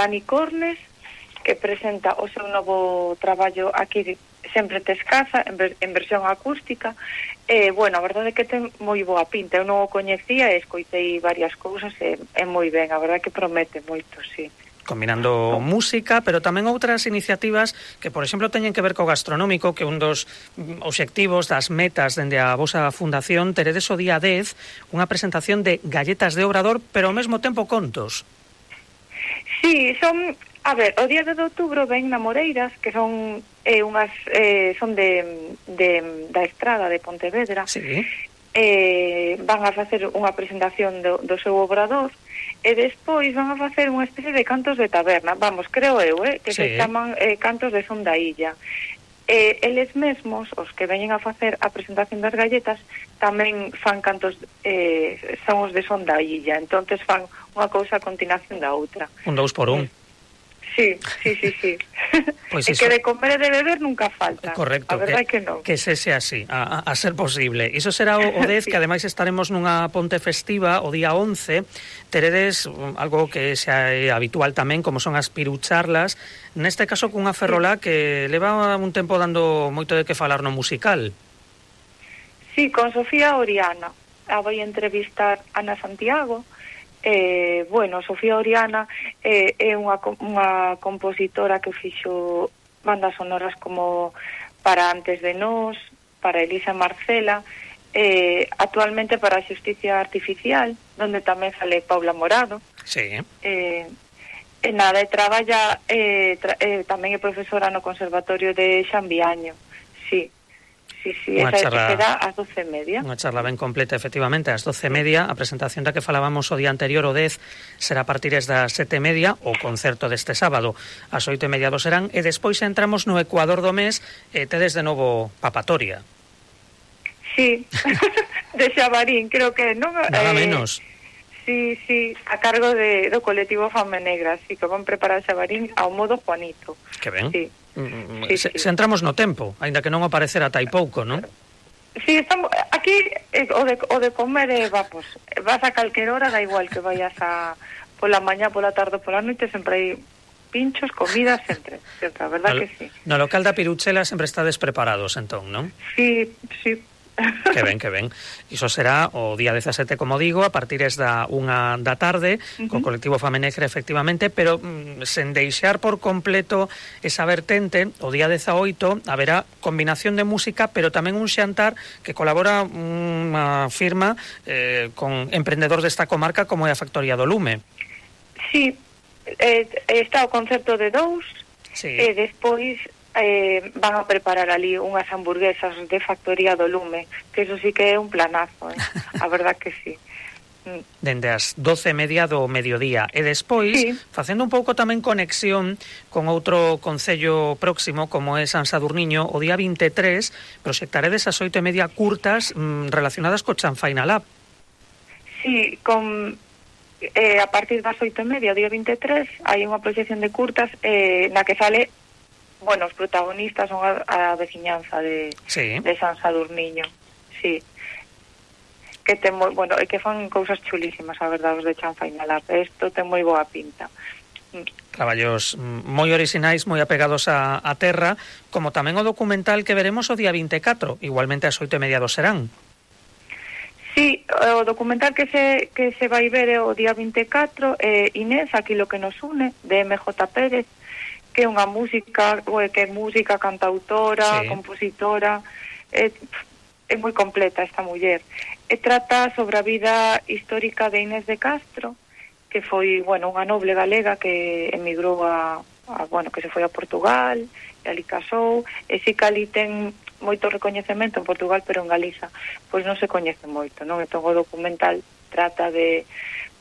Dani Cornes, que presenta o seu novo traballo aquí Sempre te escasa, en versión acústica. Bueno, a verdade é que ten moi boa pinta. Eu non o coñecía e escoitei varias cousas e moi ben, a verdade é que promete moito, sí. Combinando música, pero tamén outras iniciativas que, por exemplo, teñen que ver co gastronómico, que un dos obxectivos das metas dende a vosa fundación, teredes o día 10 unha presentación de galletas de Obrador, pero ao mesmo tempo contos. Sí, son... A ver, o día de outubro ven na Moreiras, que son unhas son da Estrada de Pontevedra. Sí. Van a facer unha presentación do seu obrador e despois van a facer unha especie de cantos de taberna, vamos, creo eu, que sí, se chaman cantos de son da illa. Eles mesmos, os que veñen a facer a presentación das galletas, tamén fan cantos, son os de son da illa, entonces fan unha cousa a continuación da outra. Un 2 por 1. Sí. Pois e que de comer e de beber nunca falta. Correcto, a verdade que non. Que se sea así, a ser posible. Iso será o 10, que ademais estaremos nunha ponte festiva o día 11. Teredes algo que xa é habitual tamén, como son as pirucharlas, neste caso cunha ferrolá que leva un tempo dando moito de que falar no musical. Sí, con Sofía Oriana. A voi entrevistar Ana Santiago. Bueno, Sofía Oriana é unha compositora que fixo bandas sonoras como para Antes de Nós, para Elisa Marcela, actualmente para a Xusticia Artificial, donde tamén sale Paula Morado. Sí. Nada, traballa tamén é profesora no Conservatorio de Xambiaño. Sí. Esa será ás 12:30. Unha charla ben completa, efectivamente, ás 12:30. A presentación da que falábamos o día anterior, o 10, será a partir das 7:30, o concerto deste sábado ás 8:30 do Serán, e despois entramos no Ecuador do mes e tedes de novo papatoria. Sí, de Xabarín, creo que non... Nada menos. Sí, a cargo do colectivo Fame Negra, sí, que van preparar Xabarín ao modo Juanito. Que ben. Sí. Se entramos no tempo, aínda que non aparecerá tai pouco, non? Sí, estamos aquí o de comer pues, vas a calquer hora, da igual que vayas pola mañá, pola tarde, pola noite, sempre hai pinchos, comida, sempre, a verdad que sí. No local da Piruchela sempre estades preparados, entón, non? Sí. Que ben. Iso será o día 17, como digo, a partir da 1 da tarde, co colectivo Fame Negra, efectivamente, pero sen deixar por completo esa vertente, o día 18 haberá combinación de música, pero tamén un xantar que colabora unha firma con emprendedores desta comarca como é a Factoría do Lume. Sí, está o concerto de dous, sí. E despois van a preparar ali unhas hamburguesas de Factoría do Lume, que eso sí que é un planazo, a verdad que sí. Dende as 12:30 do mediodía. E despois, sí, facendo un pouco tamén conexión con outro concello próximo, como é San Sadurniño, o día 23, proxectaredes as 8:30 curtas relacionadas co Chanfaina Lab. Sí, a partir das 8:30, o día 23, hai unha proxección de curtas na que sale... Bueno, os protagonistas son a veciñanza de San Sadurniño. Sí. Que ten e que fan cousas chulísimas, a verdade, os de Chanfaina Lab. Isto ten moi boa pinta. Traballos moi orixinais, moi apegados a terra, como tamén o documental que veremos o día 24, igualmente ás 8:30 do Serán. Sí, o documental que se vai ver o día 24 é Inés, aquí lo que nos une, de MJ Pérez, que é unha música, que é música, cantautora, compositora, é moi completa esta muller. E trata sobre a vida histórica de Inés de Castro, que foi, unha noble galega que emigrou que se foi a Portugal, e ali casou, e si que ali ten moito recoñecemento en Portugal, pero en Galiza pois non se coñece moito, non? Entón o documental trata de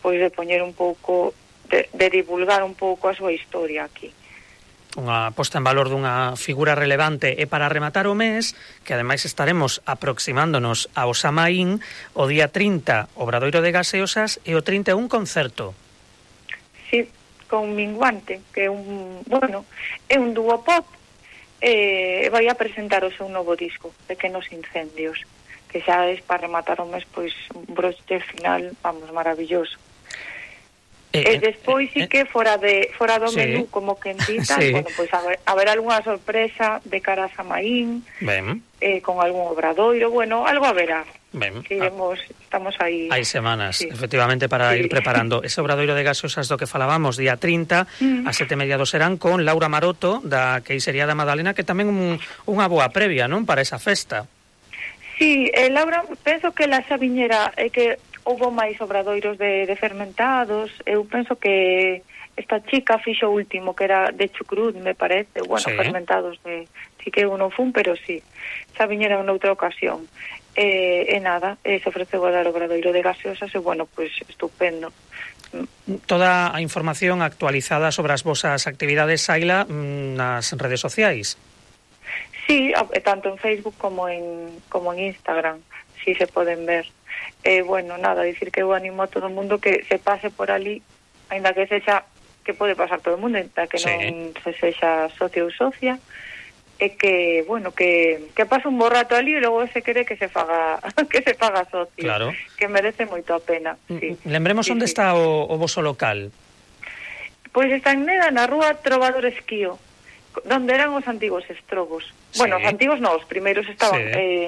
poñer un pouco, de divulgar un pouco a súa historia aquí. Unha posta en valor dunha figura relevante. E para rematar o mes, que ademais estaremos aproximándonos ao Samaín, o día 30 Obradoiro de Gaseosas e o 31 concerto. Sí, con Minguante, que é é un dúo pop, vai a presentar o seu novo disco, Pequenos Incendios, que xa é para rematar o mes, pois un broche final, maravilloso. E despois sí que fora do menú, como que en tal, bueno, pois haber algunha sorpresa de cara a Samaín, con algún obradoiro, bueno, algo haberá. Estamos aí. Hai semanas, efectivamente, para ir preparando ese obradoiro de gaseosas do que falábamos, día 30, a 7:30 do serán, con Laura Maroto, da Queixería da Madalena, que tamén unha boa previa, non, para esa festa. Sí, Laura, penso que la xa viñera, que houve máis obradoiros de fermentados, eu penso que esta chica fixo o último, que era de chucrut, me parece, bueno, fermentados sí que eu non fun, pero sí, xa viñera en outra ocasión. E nada, se ofreceu a dar obradoiro de gaseosas e, bueno, pois estupendo. Toda a información actualizada sobre as vosas actividades, Saila, nas redes sociais? Sí, tanto en Facebook como en Instagram, sí se poden ver. Bueno, nada, dicir que eu animo a todo o mundo que se pase por ali, ainda que sexa, que pode pasar todo o mundo, ainda que non se sexa socio ou socia, e que, bueno, que pase un bo rato ali e logo se quere que se faga socio, claro, que merece moito a pena. Sí. Lembremos onde está o voso local. Pois está en Neda, na rúa Trovador Esquío, donde eran os antigos estrogos. Bueno, os antigos non, os primeiros estaban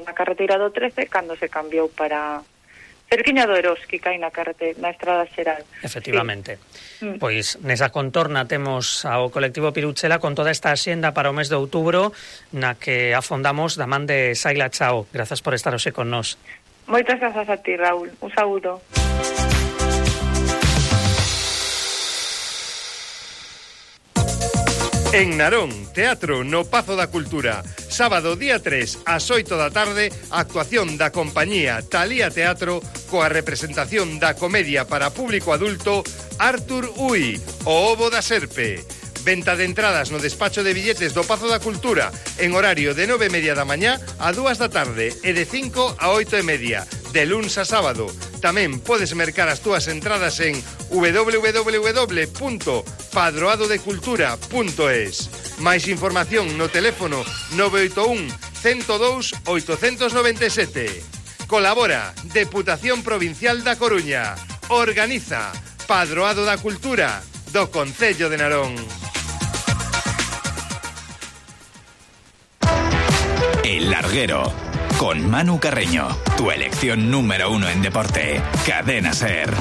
na carreteira do 13, cando se cambiou para cerquiña do Eroski, que hai na estrada xeral. Efectivamente. Sí. Pois nesa contorna temos ao colectivo Piruchela con toda esta axenda para o mes de outubro, na que afondamos da man de Saila Chao. Grazas por estar hoxe con nós. Moitas grazas a ti, Raúl. Un saúdo. En Narón, teatro no Pazo da Cultura. Sábado, día 3, ás 8 da tarde, actuación da compañía Talía Teatro coa representación da comedia para público adulto Artur Ui, o ovo da serpe. Venta de entradas no despacho de billetes do Pazo da Cultura en horario de 9:30 da mañá a 2 da tarde e de 5 a 8:30, de luns a sábado. Tamén podes mercar as túas entradas en www.padroadodecultura.es. Máis información no teléfono 981 102 897. Colabora Deputación Provincial da Coruña. Organiza Padroado da Cultura do Concello de Narón. El Larguero, con Manu Carreño, tu elección número 1 en deporte. Cadena SER.